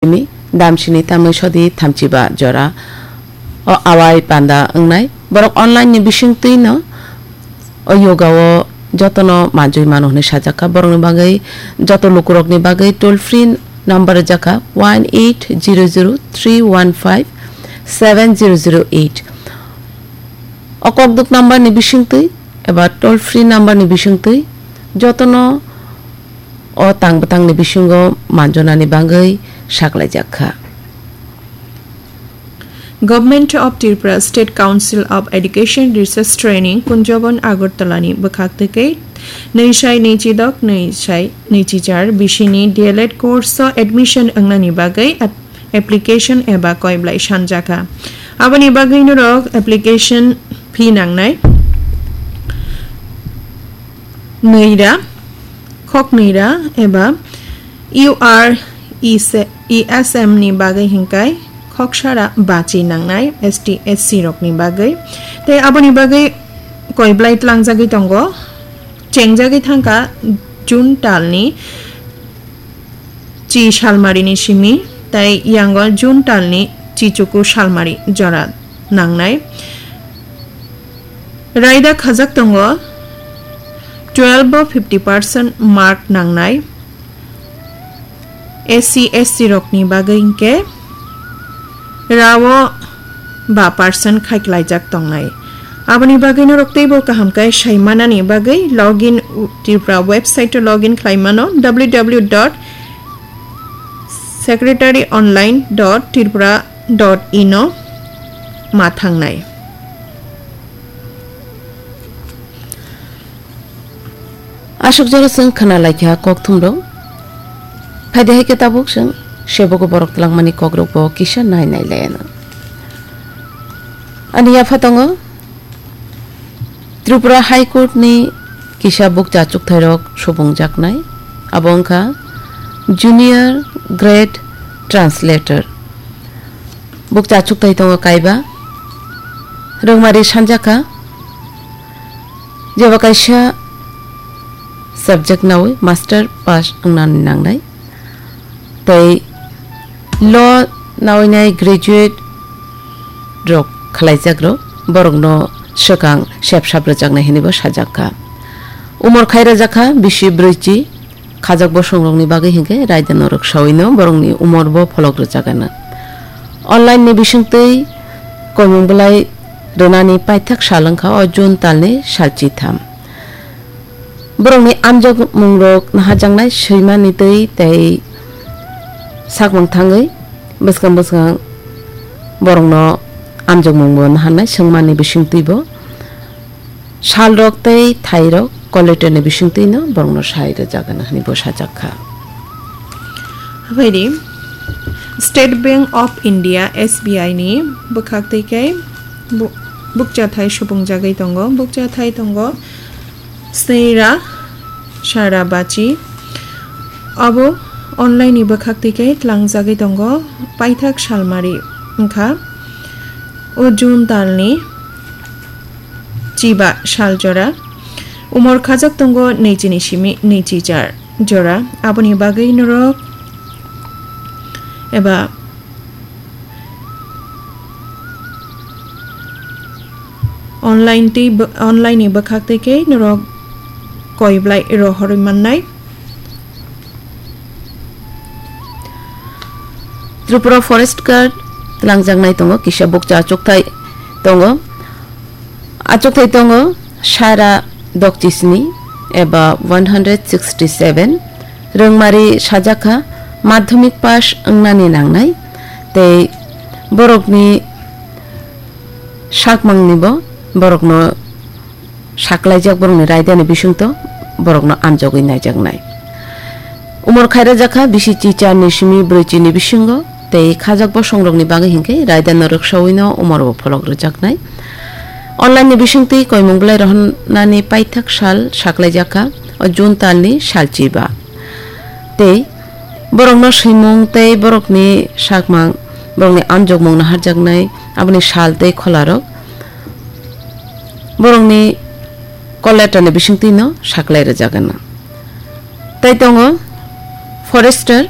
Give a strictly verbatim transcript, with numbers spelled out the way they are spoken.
Simi, damsini tamwi sodi thamchiba jora o awai panda wngnai. Borok online ni bisingtwi no o yoga o jotono manjui mano hwnwi sajak kha. Borokni bagwi, joto lukurokni bagwi toll free number rijak kha, one eight zero zero three one five seven zero zero eight. O kokduk number ni bisingtwi eba toll free number ni bisingtwi jotono o tang bwtangni bisingo manjonani bagwi saklaijak kha. Government of Tripura State Council of Education Research Training Kunjabon Agartala ni bwkhak twi khe nwi sai nwi chidok nwi sai nwi chichar bisini D L Ed course o admission wngnani bagwi ap-, application eba koiblai sanjakha. Aboni bagwi norok application fee nangnai. Nwira, khok nwira eba U R E S M ni bagwi hinkai khok sara bachi nangnai S T S C rokni bagwi. Tei aboni bagwi koiblai tlangjagwi tongo, chengjagwi thangkha June talni chi salmarini simi, tei yango June talni chichuku salmari jora nangnai. Raida khajak tongo twelve o fifty percent mark nangnai S C S T rokni bagwi hinkhe rao ba percent khaiklaijak tongnai. Aboni bagwi norok teibo kaham khe saimanani bagwi login Tripura website o login khlaimano, W W W dot secretary online dot tripura dot in o ma thangnai. Aswk jora chwng khna laikha kokthumrok. Phaidi hai khe tabuk chwng sebogo borok twlangmani kokrokbo kisa nai nai laianw. Ani yapha tongo Tripura High Court ni kisa bukcha chukthairok subungjaknai. Abo wngkha Junior Grade Translator. Bukcha chukthai tongo kaiba. Rwngmari sanjakha. Jeba kaisa subject nawi master pass wngnani nangnai. Tei law nawinai graduate rok khwlaijak rok borokno swkang sep sap rwjaknai hwnwi bo sajak kha. Umor khai rwjak kha bisi brwichi. Khajak bosongrokni bagwi hinkhe raida norok sawino borokni umor bo pholok rwjak gana. Online ni bisingtwi koimung bwlai rwnani paithak sal wngkha o June talni salchi tham. Borokni amjokmungrok naharjaknai swimani twi tei sakmang thangwi bwskang bwskang borokno amjokmungbo naharnai swngmani bisingtwibo. Salrok tei thairok collectorni bisingtwino borokno sai rwjak gana hwnwi bo sajak kha. Habaidi State Bank of India, S B I ni bwkhak twi khe bu-, bukchathai subungjagwi tongo, bukchathai tongo sneira sara bachi. Abo online ni bwkhak twi khe tlangjagwi tongo, paithak salmari wngkha o June talni chiba sal jora. Umor khajak tongo nwichini simi nwichi char jora. Aboni bagwi norok eba online twi bw-, online ni bwkhak twi khe norok koiblai rohorwi mannai. Tripura Forest Guard twlangjaknai tongo, kisa bukcha achukthai tongo. Achukthai tongo sara dokchisni eba one hundred sixty seven. Rwngmari sajak kha madhyamik pass wngnani nangnai tei borokni sakmangnibo borokno saklaijak borokni raidani bisingtwi borokno amjogwi naijaknai. Umor khairajak kha bisi chicharni simi brwichini bisingo tei khajak bosongrokni bagwi hinkhe raidano rwksawino umorbo pholok rwjaknai. Online ni bisingtwi koimung bwlai rohornani paithak sal saklaijak kha o June talni salchiba. Tei borokno swimung tei borokni sakmang, borokni amjokmung naharjaknai aboni sal tei kholarok borokni call letter ni bisingtwino saklai rwjak gana. Tai tongo Forester